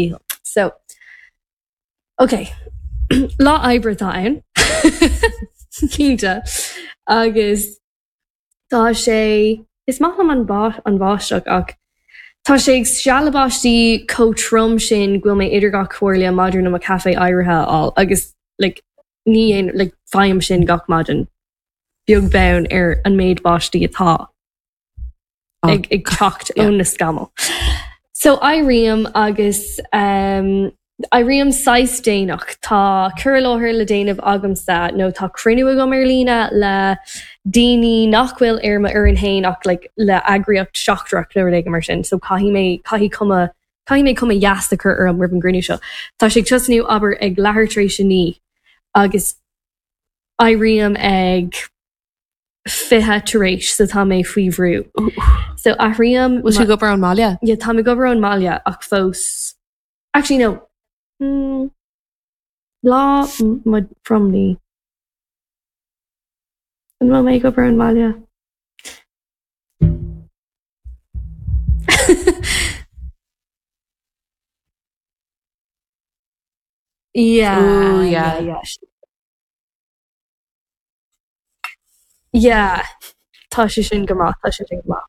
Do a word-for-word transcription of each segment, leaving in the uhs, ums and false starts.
Dícheall. So okay lá oibre atá ann cinnte agus tá sé is maith liom an an bháisteach ach tá sé ag stealladh báistí chomh trom sin go bhfuil mé idir dhá chomhairle maidir le mo caife áirithe a fháil agus like ní aon like faighim sin gach maidin beag beann ar an méid báistí atá ag ag teacht ó na scamaill. So éirím agus um, éirím saghas déanach Tá cur i láthair le déanamh agamsa nó tá cruinniú agam ar líne le daoine nach bhfuil ar m'fhoireann féin ach like, le eagraíocht seachtrach nó rud mar sin, so caithfidh mé caithfidh cuma caithfidh mé cuma dheas a chur orm roimh an gcruinniú seo. Tá sé ag tosnú abair ag leathuair tar éis a naoi agus éirím ag fiche tar éis so tá mé faoi bhrú. So athraím Bhfuil tú ag obair ón mbaile? Ja tá ag obair ón mbaile ach fós Actually no. Mm, lá mo phromní. An bhfuil mé ag obair ón mbaile? Yeah, Ooh, yeah, yeah. yeah. Yeah, tá sé sin go maith, tá sé sin go maith.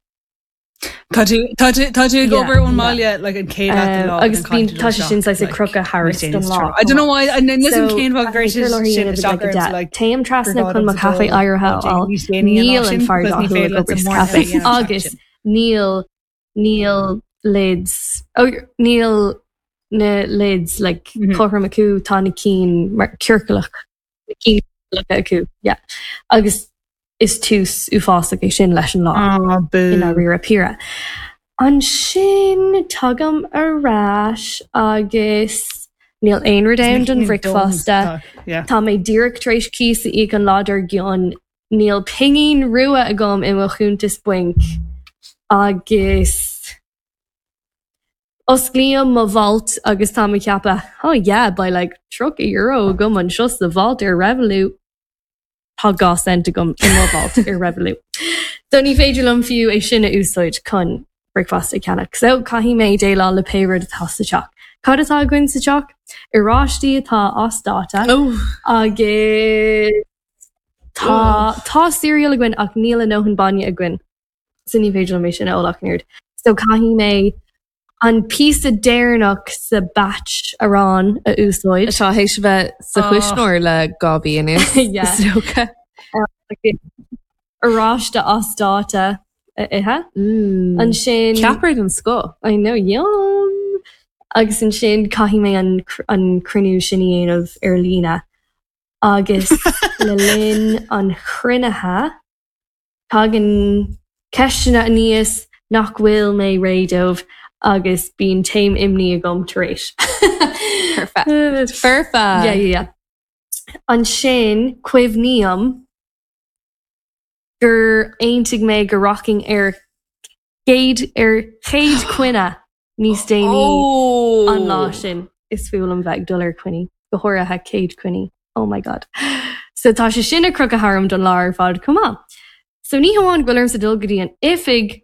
Tá tú tá tú tá tú ag Yeah, obair ón yeah. mbaile like an chéad leath den Um, lá agus an bíonn caithfidh tú tá dul sé sin isteach saghas ag like crochadh níos thairis déanaí don sa lá tráth. I don't know why and then So listen cén fáth caithfidh gur mé cur i láthair a sin dhéanamh ag isteach like a ormsa deich. like Téim gur trasna gá chun mo domsa caife dul áirithe a ó fháil. níos déanaí an lá Níl an sin fear because ní dathúil féidir ag leat obair sa sa morning caife a dhéanamh agus sin. níl níl lids oh, níl na lids like Mhm. cothrom acu tá na cinn mar ciorclach na cinn ciorclacha acu yeah. Agus is tús uafásach é sin leis an lá Ah, i boo. ndáiríre píre. Ansin tagaim ar ais agus níl aon rud Is ann na don cinn donn bhricfeasta. tá yeah. Tá mé díreach tar éis cíos a íoc an lá dár gcionn. Níl pingin rua agam i mo chuntas bainc agus osclaím mo vault agus tá mé ag ceapadh oh yeah beidh like tríocha euro agam anseo sa vault ar Revolut. Tá dhá cent agam i mo vault ar Revolut. So ní féidir liom fiú é sin a úsáid chun bricfeasta a cheannach. So caithfidh mé déileáil le pé rud atá sa teach. Cad atá againn sa teach? Oráistí atá as dáta Oh. agus tá tá cereal againn ach níl a ndóthain bainne againn. So ní féidir liom é sin a ól ach an oiread. So caithfidh mé an píosa deireanach sa batch arán a úsáid. Atá théis a bheith sa Oh. chuisneoir le dhá mhí anuas. Yeah. Is dócha. Oráiste as dáta a ithe. Mm. Ansin Ceapaire den scoth. I know yum. Agus ansin caithfidh mé an cr- an cruinniú sin a dhéanamh ar líne. Agus le linn an chruinnithe tagann ceisteanna aníos nach bhfuil mé réidh dóibh agus bíonn taom imní agam tar éis. Perfect. Perfect. Yeah, yeah, yeah. Ansin cuimhním gur aontaigh mé go rachainn ar chéad ar chéad choinne níos déanaí Oh. an lá sin. Is fuath liom bheith ag dul ar coinní, go háirithe céad coinní. Oh my god. So tá sé sin ag crochadh tharam don lá ar fad chomh maith. So ní hamháin go bhfuil ormsa dul go dtí an oifig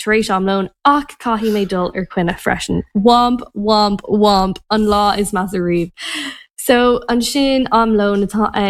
tar éis am lóin ach caithfidh mé dul ar choinne freisin. Womp, womp, womp, an lá is measa riamh. So ansin am lóin atá ann.